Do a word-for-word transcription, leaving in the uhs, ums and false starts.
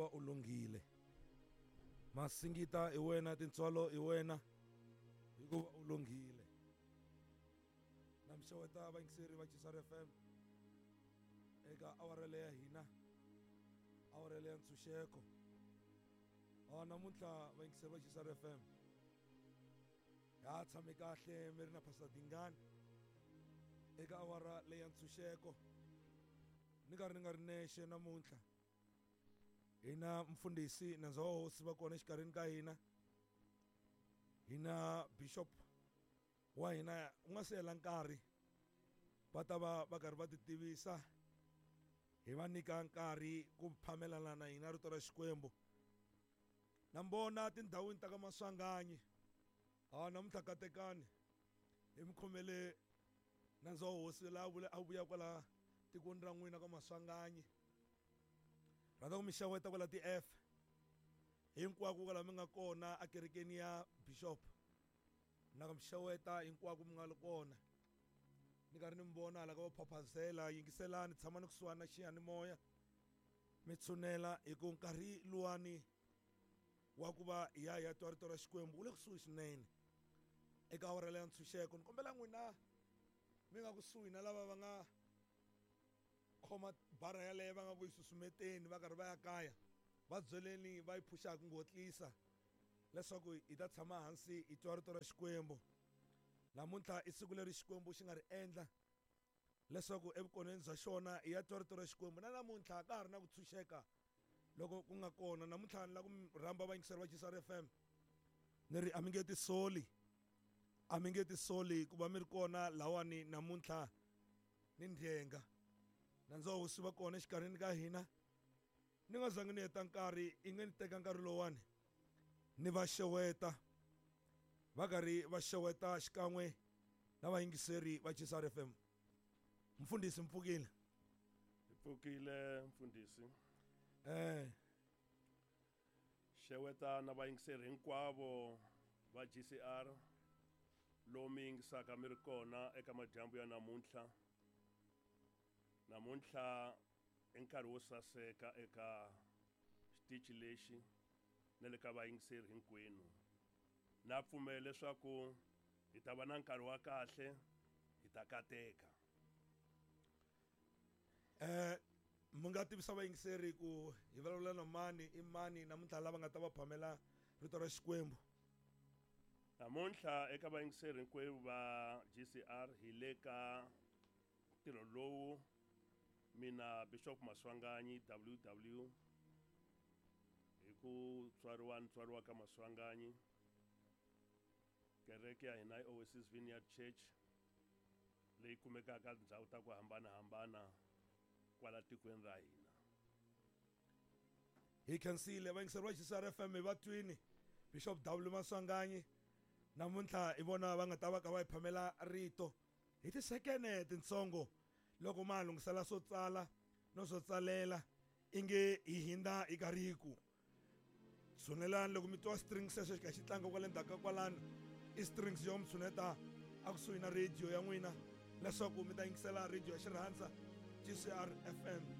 Hikuva u lunghile. Masingita i wena, tintswalo i wena, hikuva u lunghile. Na mi xeweta vayingiseri va G C R F M eka awara leya ya hina, awara leya ntshunxeko. Ah, namuntlha vayingiseri va G C R F M ha tshame kahle mi ri na Pastor Dingani eka awara leya ntshunxeko. Ni karhi ni nga ri nexe namuntlha, hina mfundhisi nandza wa hosi va kona exikarhini ka hina, hina bishop wa hina u nga se hela nkarhi va ta va va karhi va ti tivisa, hi va nyika nkarhi ku phamelana na hina rito ra Xikwembu. Na mbona tindhawini ta ka Maswanganyi, ha namuntlha katekani hi mi khomele nandza wa hosi laha vula a vuya kwala tikweni ra n'wina ka Maswanganyi. Rhandza ku mi xeweta kwala ti F hinkwako kwala mi nga kona ekerekeni ya bishop, na ku mi xeweta hinkwako mi nga ri kona. Ni karhi ni mi vona hala ka va phaphazela, yingiselani, tshamani kusuhani na xiyanimoya mi tshunela, hi ku nkarhi luwani wa ku va hi ya hi ya twa rito ra Xikwembu wu le kusuhi swinene. Eka awara leya ntshunxeko ni kombela n'wina mi nga kusuhi na lava va nga khoma bara yaleyo va nga ku yi susumeteni va karhi va ya kaya, va byeleni va yi phuxa hi ku ngotlisa leswaku hi ta tshama hansi hi twa rito ra Xikwembu. Namuntlha i siku leri Xikwembu xi nga ri endla leswaku evukoneni bya xona hi ya twa rito ra Xikwembu. Na namuntlha ka ha ri na ku tshunxeka loko ku nga kona. Namuntlha ni lava ku mi rhamba vayingiseri va G C R F M, ni ri a mi nge tisoli, a mi nge tisoli ku va mi ri kona lawani namuntlha ni ndyenga. Nandza wa hosi va kona exikarhini ka hina. Ni nga zangi ni heta nkarhi, i nge ni teka nkarhi lowani ni va xeweta, va karhi va xeweta xikan'we na vayingiseri va G C R F M. Mfundhisi, mpfukile? Hi pfukile mfundhisi. Eh. Xeweta na vayingiseri hinkwavo va G C R lomu yingisaka mi ri kona eka madyambu ya namuntlha. Namuntlha i nkarhi wo saseka eka xitichi lexi na le ka vayingiseri hinkwenu. Na pfumela leswaku hi ta va na nkarhi wa kahle, hi ta kateka. Eh, mi nga tivisa vayingiseri ku hi vulavula na mani, i mani namuntlha lava nga ta va phamela rito ra Xikwembu? Namuntlha eka vayingiseri hinkwenu va G C R hi le ka ntirho lowu mina Bishop Maswanganyi W W hi ku tswariwa ni tswariwa ka Maswanganyi, kereke ya hina i Oasis Vineyard Church leyi kumekaka tindhawu ta ku hambanahambana kwala tikweni ra hina. Hi khensile vayingiseri va G C R F M hi va twini Bishop W Maswanganyi namuntlha hi vona va nga ta va ka va hi phamela rito hi tisekene tintsongo loko ma lunghisela swo tsala no swo tsalela inge hi hindza hi karhi hi ku tshunelani. Loko mi twa strings sweswo xi kha xi tlanga kwale ndzhaku ka kwalano, i strings yo mi tshuneta a kusuhi na radio ya n'wina leswaku mi ta yingisela radio ya Xirhandza G C R F M.